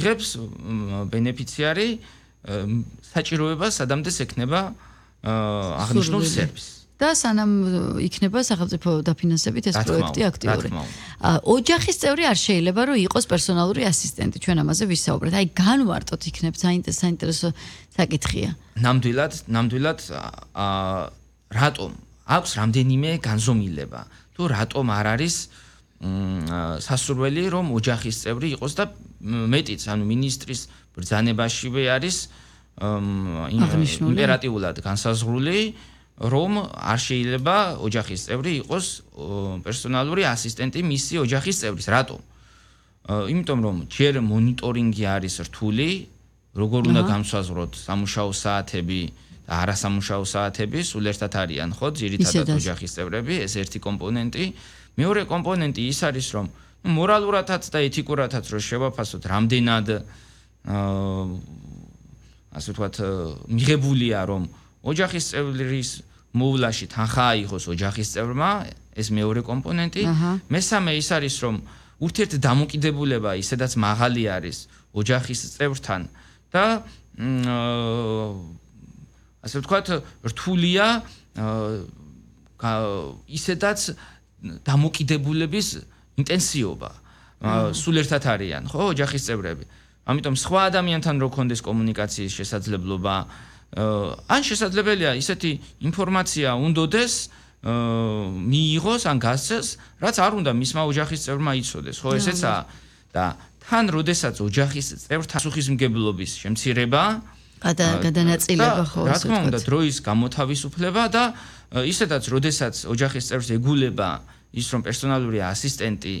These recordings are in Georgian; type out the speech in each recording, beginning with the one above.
იღებს ბენეფიციარი საჭიროებას სადამდე ექნება აღნიშნულ სერვისს. და სანამ იქნება სახელმწიფო დაფინანსებით ეს პროექტი აქტიური. ოჯახის წევრი არ შეიძლება რომ იყოს პერსონალური ასისტენტი. ჩვენ ამაზე ვისაუბრეთ. აი განვარტოთ იქნებ საინტერესო საკითხია. ნამდვილად რატომ აქვს რამდენიმე განზომილება. თუ რატომ არ არის სასურველი რომ ოჯახის წევრი იყოს და მეტიც ანუ მინისტრის ბრძანებაშივე არის იმპერატიულად განსაზღვრული რომ არ შეიძლება ოჯახის წევრი იყოს პერსონალური ასისტენტი მისი ოჯახის წევრის. რატომ? იმიტომ რომ ჯერ მონიტორინგი არის რთული, როგორ უნდა განსაზღვროთ სამუშაო საათები და არასამუშაო საათები, სულ ერთად არიან, ხო, ძირითადად ოჯახის წევრები, ეს ერთი კომპონენტი. მეორე კომპონენტი ის არის რომ მორალურადაც და ეთიკურადაც რომ შევაფასოთ, რამდენად ასე ვთქვათ, მიღებულია რომ ოჯახის წევრის მოვლაში თანხა აიღოს ოჯახის წევრმა, ეს მეორე კომპონენტი. მესამე ის არის რომ ურთიერთდამოკიდებულება ისედაც მაღალი არის ოჯახის წევრთან და ასე ვთქვათ, რთულია ისედაც დამოკიდებულების ინტენსივობა. სულ ერთად არიან, ხო, ოჯახის წევრები. ამიტომ სხვა ადამიანთან რო კონდეს კომუნიკაციის შესაძლებლობა, ან შესაძლებელია ისეთი ინფორმაცია უნდოდეს მიიღოს ან გასცეს, რაც არ უნდა მისმა ოჯახის წევრმა იცოდეს, ხო, ესეცაა. და თან როდესაც ოჯახის წევრთა პასუხისმგებლობის შემცირება, გადანაწილება ხო, რა თქმა უნდა, დროის გამოთავისუფლება და ისედაც როდესაც ოჯახის წევრს ეგულება ის რომ პერსონალური ასისტენტი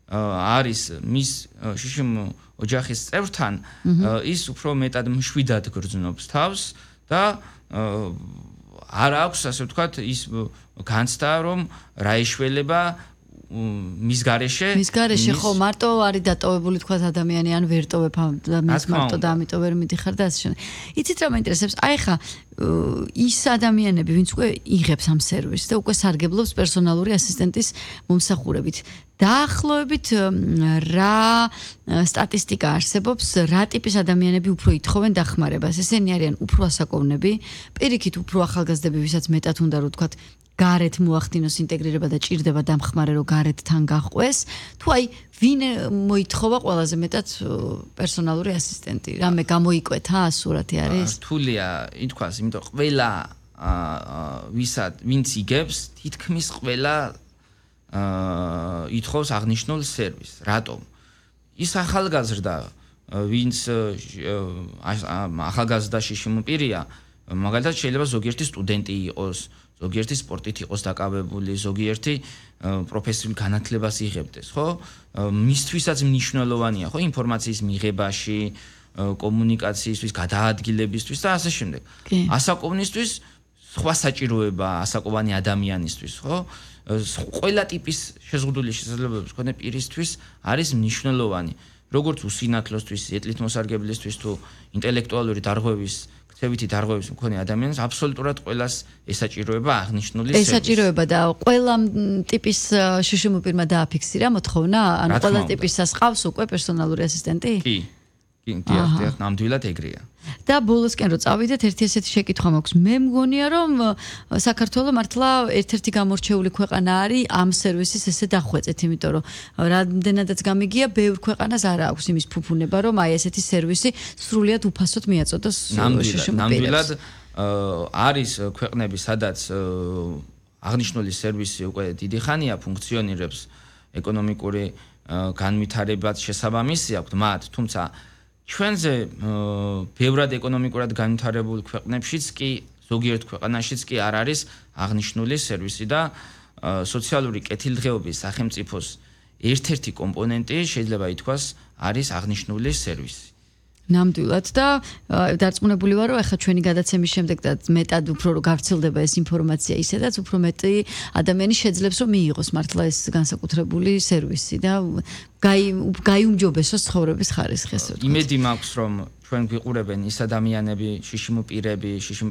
არის მის შიშიმ ოჯახის წევრთან, ის უფრო მეტად მშვიდად გრძნობს თავს და არ აქვს ასე ვთქვათ ის განცდა რომ რა ეშველება მის გარეშე ხო მარტო არის დატოვებული თქვა ადამიანი ან ვერ ტოვებ ამის მარტო და ამიტომ ვერ მიდიხარ და ასე შემდეგ. იცით რა მაინტერესებს? აი ხა ის ადამიანები ვინც უკვე იღებს ამ სერვისს და უკვე სარგებლობს პერსონალური ასისტენტის მომსახურებით. დაახლოებით რა სტატისტიკა არსებობს, რა ტიპის ადამიანები უფრო ითხოვენ დახმარებას? ესენი არიან უფრო ასაკოვნები, პირიქით უფრო ახალგაზრდები, ვისაც მეტად უნდა რომ თქვათ გარეთ მოახდინოს ინტეგრირება და ჭირდება დამხმარე რომ გარეთ თან გაყვეს, თუ აი ვინ მოითხოვა ყველაზე მეტად პერსონალური ასისტენტი? რამე გამოიკვეთა სურათი არის? რთულია ითქვას, იმიტომ ყველა ვინც იგებს, თითქმის ყველა ითხოვს აღნიშნულ სერვისს. რატომ? ის ახალგაზრდა, ვინც ახალგაზრდაში შემოპირია, მაგალითად შეიძლება ზოგიერთი სტუდენტი იყოს, ზოგიერთი სპორტით იყოს დაკავებული, ზოგიერთი პროფესიულ განათლებას იღებდეს, ხო? მისთვისაც მნიშვნელოვანია, ხო, ინფორმაციის მიღებაში, კომუნიკაციისთვის, გადაადგილებისთვის და ასე შემდეგ. ასაკოვნისთვის სხვა საჭიროება ასაკოვანი ადამიანისთვის, ხო? ყველა ტიპის შეზღუდული შესაძლებლობების მქონე პირისთვის არის მნიშვნელოვანი. როგორც უსინათლოსთვის, ეტლით მოსარგებლისთვის თუ ინტელექტუალური დარღვევის ქცევითი დარღვევის მქონე ადამიანს აბსოლუტურად ყველას ესაჭიროება აღნიშნული სერვისი. ესაჭიროება და ყველა ტიპის შშმ პირმა დააფიქსირა მოთხოვნა, ან ყველა ტიპისას ყავს უკვე პერსონალური ასისტენტი? კი. დიახ, ნამდვილად ეგრეა. და ბოლოსკენ რო წავიდეთ, ერთი ესეთი შეკითხვა მაქვს. მე მგონია რომ საქართველო მართლა ერთ-ერთი გამორჩეული ქვეყანა არის ამ სერვისის ესე დახვეწეთ, იმიტომ რომ რამდენადაც გამიგია, ბევრ ქვეყანას არ აქვს იმის ფუფუნება, რომ აი ესეთი სერვისი სრულიად უფასოდ მიაწოდოს შშმ-ს. ნამდვილად არის ქვეყნები, სადაც აღნიშნული სერვისი უკვე დიდი ხანია ფუნქციონირებს, ეკონომიკური განვითარებაც შესაბამისი აქვს მათ, თუმცა ჩვენზე ბევრად ეკონომიკურად განვითარებულ ქვეყნებშიც კი ზოგიერთ ქვეყანაშიც კი არ არის აღნიშნული სერვისი და სოციალური კეთილდღეობის სახელმწიფოს ერთ-ერთი კომპონენტი შეიძლება ითქვას არის აღნიშნული სერვისი. ნამდვილად და დარწმუნებული ვარ რომ ახლა ჩვენი გადაცემის შემდეგ და მეტად უფრო რომ გავრცელდება ეს ინფორმაცია ისედაც უფრო მეტი ადამიანი შეძლებს რომ მიიღოს მართლა ეს განსაკუთრებული სერვისი და გაიუმჯობესოს ცხოვრების ხარისხი. იმედი მაქვს რომ ჩვენ გვიყურებენ ის ადამიანები, შშმ პირები, შშმ